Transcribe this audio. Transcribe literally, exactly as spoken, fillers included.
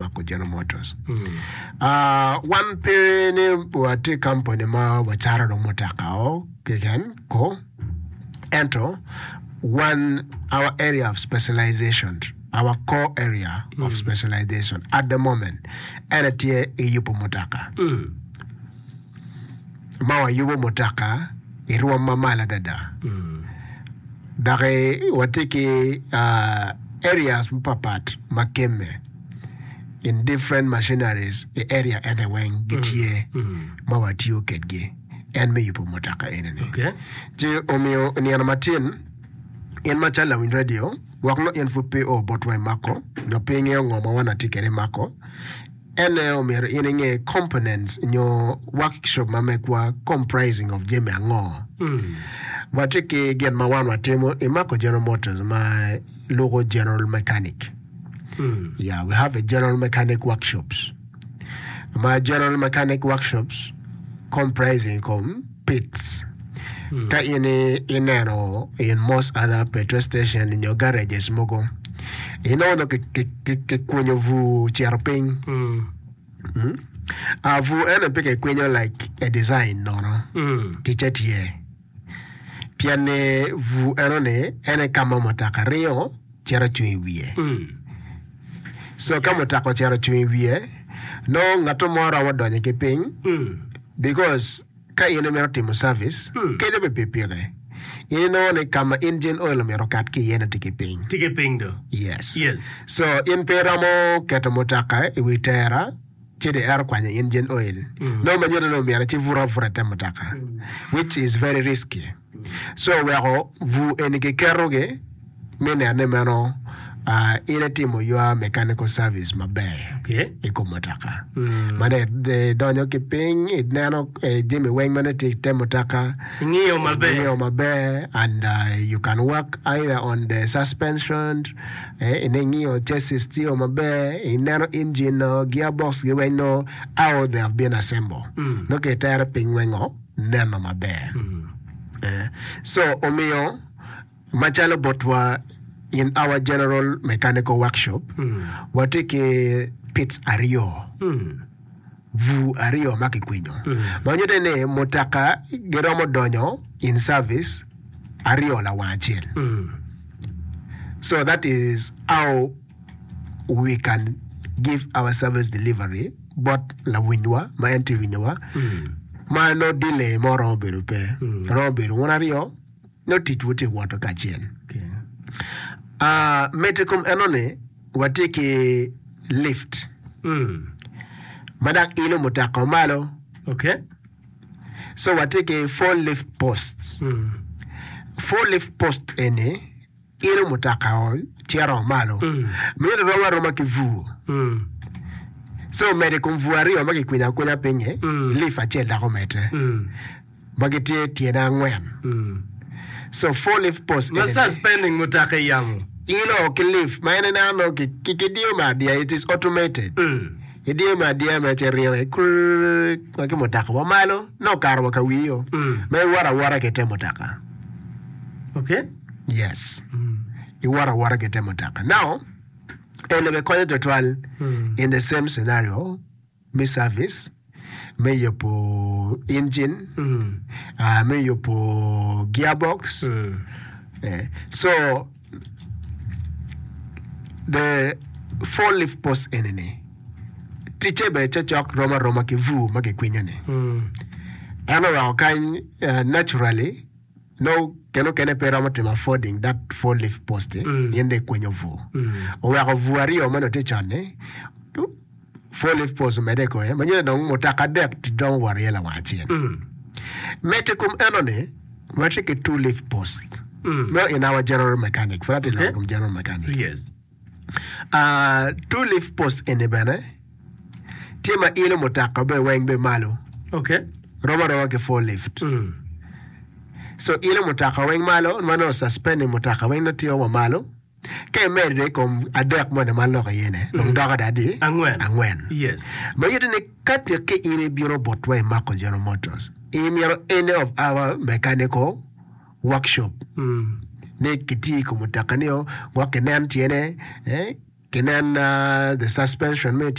Mako General Motors. Ah, wan pe ni watye company ma wacato dong mutoka o keken ko, ento wan our area of specialization, our core area of specialization at the moment ene tye i yubo mutoka. Ma wayubo mutoka i rwom ma malo adada. Dok watye ki ah, areas mapapat ma kemme in different machineries i area ene weng gitye ma watiyo kedgi en me yubo mutoka eni-ni. Okay. Ci omiyo nino matin in macalo lawiny radio gwok nongo in pud pe o botwa i mako nyo pe ingeyo ngo ma wan watye kwede i mako ene omyero in inge components nyo workshop ma megwa comprising of jami ango. Watye ki gin ma wan watimo i Mako General Motors ma luko general mechanic. Yeah, we have a general mechanic workshops. Ma general mechanic workshops comprising kom pits. Ka in i- ineno in most other petrol station nyo garages mogo, inongo nongo ki- ki- ki- kikwinyo bur cito piny. Mm. Ah, bur eno pe kikwinyo like a design nono. Ticce tye. Pien ni bur eno-ni en aye ka ma mutoka ringo cito cung i wiye. So ka mutoka ocito ocung i wiye, nongo ngat mo romo donyo ki piny because ka in imito timo service, kenyo bene pikipiki, in inongo ni ka ma engine oil omyero okat ki iye-ni tye ki piny. Tye ki piny do. Yes. Yes. So in pe iromo keto mutoka i wi tera ci dong ero kwanyo engine oil. Nongo ma nyuto ni omyero ci buto abuta i te mutoka which is very risky. So oweko bur eni kiketogi me neno ni meno ah, in itimo your mechanical service maber Okay. i kom mutoka. Ma dong idonyo ki piny ineno eh, jami weng ma nongo tye i te mutoka Ingiyo maber. ingiyo maber and uh, you can work either on the suspension eh, ingiyo chassis tiyo maber ineno engine no gearbox gi weng no how they have been assembled nongo kitere piny weng o neno maber Eh, so omiyo macalo botwa in our general mechanical workshop watye ki pits aryo bur aryo ma kikwinyo ma nyuto ni mutoka giromo donyo in service aryo lawang acel so that is how we can give our service delivery bot lawinywa ma en tye winyowa ma nongo delay mo romo bedo pe romo bedo wun aryo nongo ticwu tye woto kacel Okay. Ah, medo i kom enoni watye ki lift Mm. ma dok ilo mutoka malo Okay. so watye ki four lift posts Mm. four lift post eni ilo mutoka o cito malo mito rom aroma ki bur Mm. so medo i kom bur aryo ma kikwinyo akwinya pinyi lift acel dok omedde Mm. ma gitye tyene angwen Mm. so four lift post Ma eni suspending mutoka i yamo. ilo ki lift ma en ineno nongo ki- ki- kidiyo me adiya it is automated Mm. idiyo me adiya me ci ringo ikrrr ma ki mutoka wa malo nongo okato wa ka wiyo Mm. ma iwoto awota ki te mutoka Okay. yes iwoto awota ki te mutoka now eni bene konyo tutwal in the same scenario me service me yubo engine Mm. uh, me yubo gearbox Mm. Eh, so the four lift post eni-ni ticce bene cokcok rom aroma ki bur ma kikwinyo-ni Mm. en oweko kany uh, naturally no kene okene pe romo timo affording that four lift post Mm. in dong ikwinyo bur Mm. oweko bur aryo ma nongo tye con-ni four lift post omedde i kome ma nyuto dong mutoka adek romo wot iye lawang acel Mm. medo i kom eno-ni watye ki two lift post Mm. Meno in our general mechanic pud atye Okay. loko i kom general mechanic Yes. uh, two lift post eni bene tye ma ilo mutoka be weng be malo Okay. rom aroma ki four lift Mm. so ilo mutoka weng malo ma nongo suspending mutoka weng nongo tye wa malo ka imedo i kom adek moni ma aloko iye ni dong doko adi Angwen. angwen Yes. ma nyuto ni ka tye in ibino botwa i Mako General Motors imito any of our mechanical workshop Mm. ni kiti i kom mutoka ni o gwok kinen tyene eh, Kinen uh, the suspension me